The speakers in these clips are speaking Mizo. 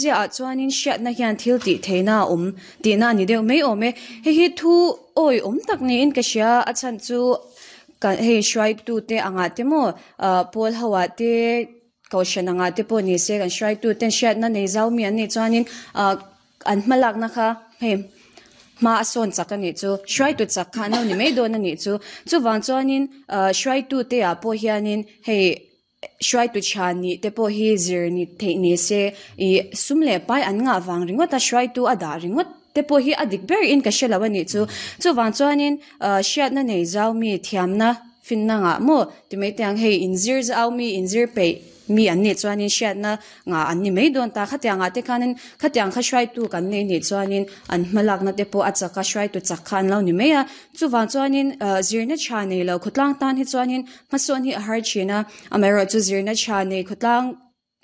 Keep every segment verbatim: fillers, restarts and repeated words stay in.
Ziaah chuanin hriatna hian thil tih theihna a awm tihna a ni deuh mai awm e. Hei hi thu awi awm tak niin ka hria a chhan chu kan hei hruaitute angah te maw ah pawl ho ah te kohhran angah te pawh ni se kan hruaituten hriatna nei zau mi an nih chuanin ah an hma lakna kha hei hma a sawn chak a nih chu hruaitu chak kha an lo ni mai dawn a nih chu chuvang chuanin ah hruaitute ah pawh hianin hei hruaitu tha nih te pawh hi zir ni theih ni se ih sum leh pai an ngah vang ringawt a hruaitu a dah ringawt te pawh hi a dik ber in ka hrelo a nih chu chuvang chuanin ah hriatna nei zau mi thiamna finna ngah maw ti mai te ang hei inzir zau mi inzir peih mi an nih chuanin hriatna ngah an ni mai dawn ta khatiang ah te khanin khatiang kha hruaitu kan nei nih chuanin an hma lakna te pawh a chak a hruaitu chak kha an lo ni mai a chuvang chuanin ah zirna tha nei lo khawtlang tan hi chuanin hmasawn hi a har thin a amaherawh chu zirna tha nei khawtlang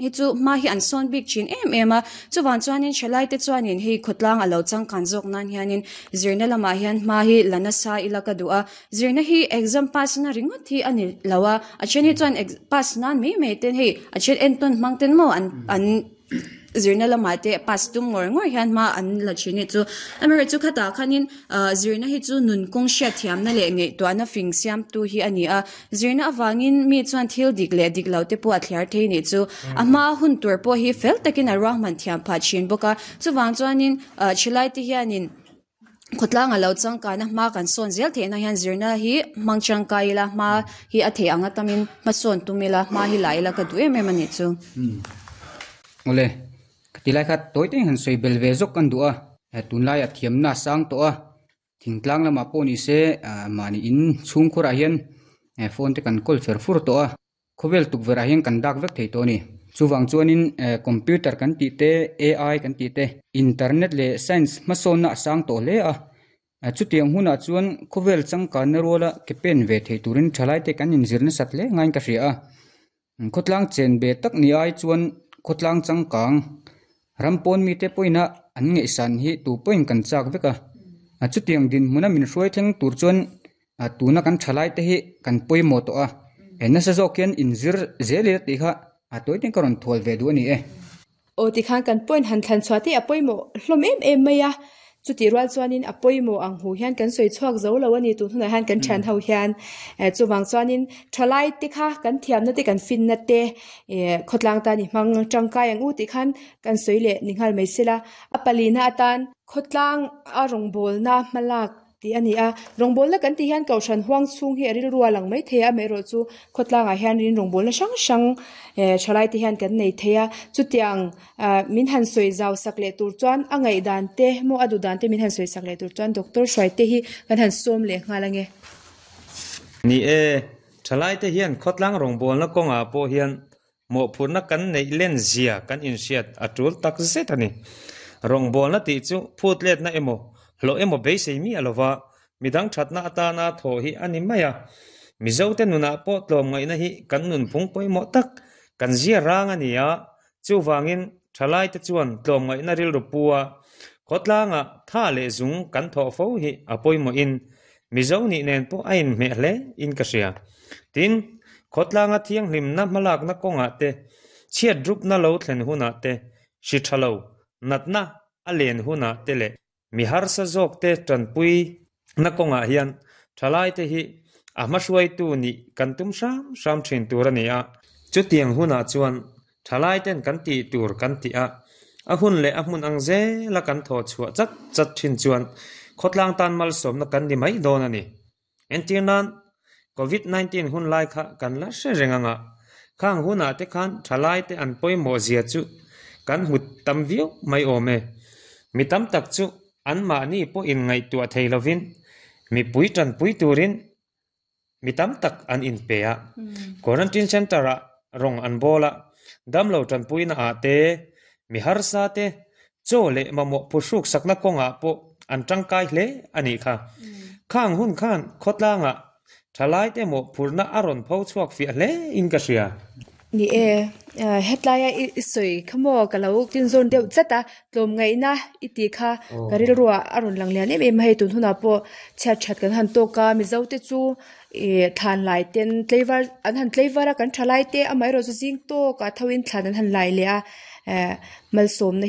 hi chu hma hi an sawn bik thin em em a chuvang chuanin thalai te chuanin hei khawtlang a lo changkan zawk nan hianin zirna lamah hian hma hi la nasa ila ka duh a zirna hi exam pass na ringawt hi a ni lo a a then hi chuan pass nan mai mai ten hei a then entawn hmang ten maw an an zirna lamah te pass tum ngawr ngawr hian hma an la thin hi chu amaherawh chu khatah khanin ah zirna hi chu nun kawng hriat thiamna leh ngaihtuahna fing siamtu hi a ni a zirna avangin mi chuan thil dik leh dik lo te pawh a thliar thei nih chu a hma hun tur pawh hi fel takin a ruahman thiam phah thin bawk a chuvang chuanin ah thalai te hianin khawtlang a lo changkan a hma kan sawn zel theihna hian zirna hi hmang tangkai ila hma hi a theih ang atamin hmasawn tum ila hma hi la ila ka duh em em a nih chu. Awle, tilai kha tawi te han sawi bel ve zawk kan duh a tunlai a thiamna sang tawh a thingtlang lamah pawh ni se mahni in chhungkhurah hian phone te kan kawl fer fur tawh a khawvel tukverh ah hian kan dak vek thei tawh a ni chuvang chuanin computer kan tih te A I kan tih te internet leh science hmasawnna a sang tawh hle a chutiang hunah chuan khawvel changkanna ruala ke pen ve thei turin thalai te kan inzir nasat hle ngaiin ka hria a khawtlang chen ve tak ni ai chuan khawtlang changkang ram pawn mite pawhin a an ngaihsan hi tu pawhin kan chak vek a chutiang dinhmuna min hruai thleng tur chuan tuna kan thalai te hi kan pawimawh tawh a nasa zawk hian inzir zel ila tih kha a tawi ten ka rawn thual ve duh a ni e. Aw tikhan kan point han thlan chhuah te a pawimawh hlawm em em mai a chutih rual chuanin a pawimawh ang hu hian kan sawi chhuak zo lo a ni tun hunah hian kan thian ho hian chuvang chuanin thalai te kha kan thiamna te kan finna te khawtlang tan i hmang tangkai ang u tih khan kan sawi leh ni nghal mai sela a palina atan khawtlang a rawngbawlna hmalak tih a ni a rawngbawlna kan tih hian kohhran huang chhung hi a rilru a lang mai thei a amaherawh chu khawtlangah hian rin rawngbawlna hrang hrang thalai te hian kan nei thei a chutiang min han sawi zau sak leh tur chuan a ngaihdan te maw a duh dan te min han sawi sak leh tur chuan doctor hruai te hi kan han sawm leh nghal ange. Ni e, thalai te hian khawtlang rawngbawlna kawngah pawh hian mawhphurhna kan neih len zia kan inhriat a tul tak zet a ni. Rawngbawlna tih chu phut letna emaw hlawh emaw beisei mi alova midang thatna atana thaw hi a ni mai a Mizo te nunah pawh tlawm ngaihna hi kan nunphung pawimawh tak kan zia rang a ni a chuvangin thalai te chuan tlawm ngaihna rilru pu a khawtlanga tha leh zung kan thawh fo hi a pawimawh in Mizo nih nen pawh a inhmeh hle in ka hria tin khawtlanga thianghlimna hmalakna kawngah te chhiat rupna lo thlen hunah te hri tha lo natna a len hunah te leh mi harsa zawk te tanpui na kawngah hian thalai te hi a hma hruaitu nih kan tum hram hram thin tur a ni a chutiang hunah chuan thalai ten kan tih tur kan ti a a hun leh a hmun ang zela kan thaw chhuah chat chat thin chuan khawtlang tan malsawmna kan ni mai dawn a ni entir nan covid nineteen hun lai kha kan la hre reng anga khang hunah te khan thalai te an pawimawh zia chu kan hmu tam viau mai awm e mi tam tak chu an mahni pawh in ngaihtuah thei lovin mipui tanpui turin mi tam tak an inpe a quarantine center ah rawng an bawl a damlo tanpuina ah te mi harsa te chaw leh mamawh phuhruk sakna kawngah pawh an tangkai hle a nih kha khang hun khan khawtlangah thalai te mawhphurhna a rawn pho chhuak fiah hle in ka hria. Ni e, hetlaia i sawi kha maw ka lo tin zawn deuh chat a tlawm ngaihna i tih kha ka rilru ah a rawn lang lian em em a hei tun hunah pawh chhiat that kan han tawk a Mizo te chu ih thlan lai ten tleivar an han tleivar a kan thalai te amaherawh chu zing tawkah tho in thlan an han lai leh a eh malsawmna hi.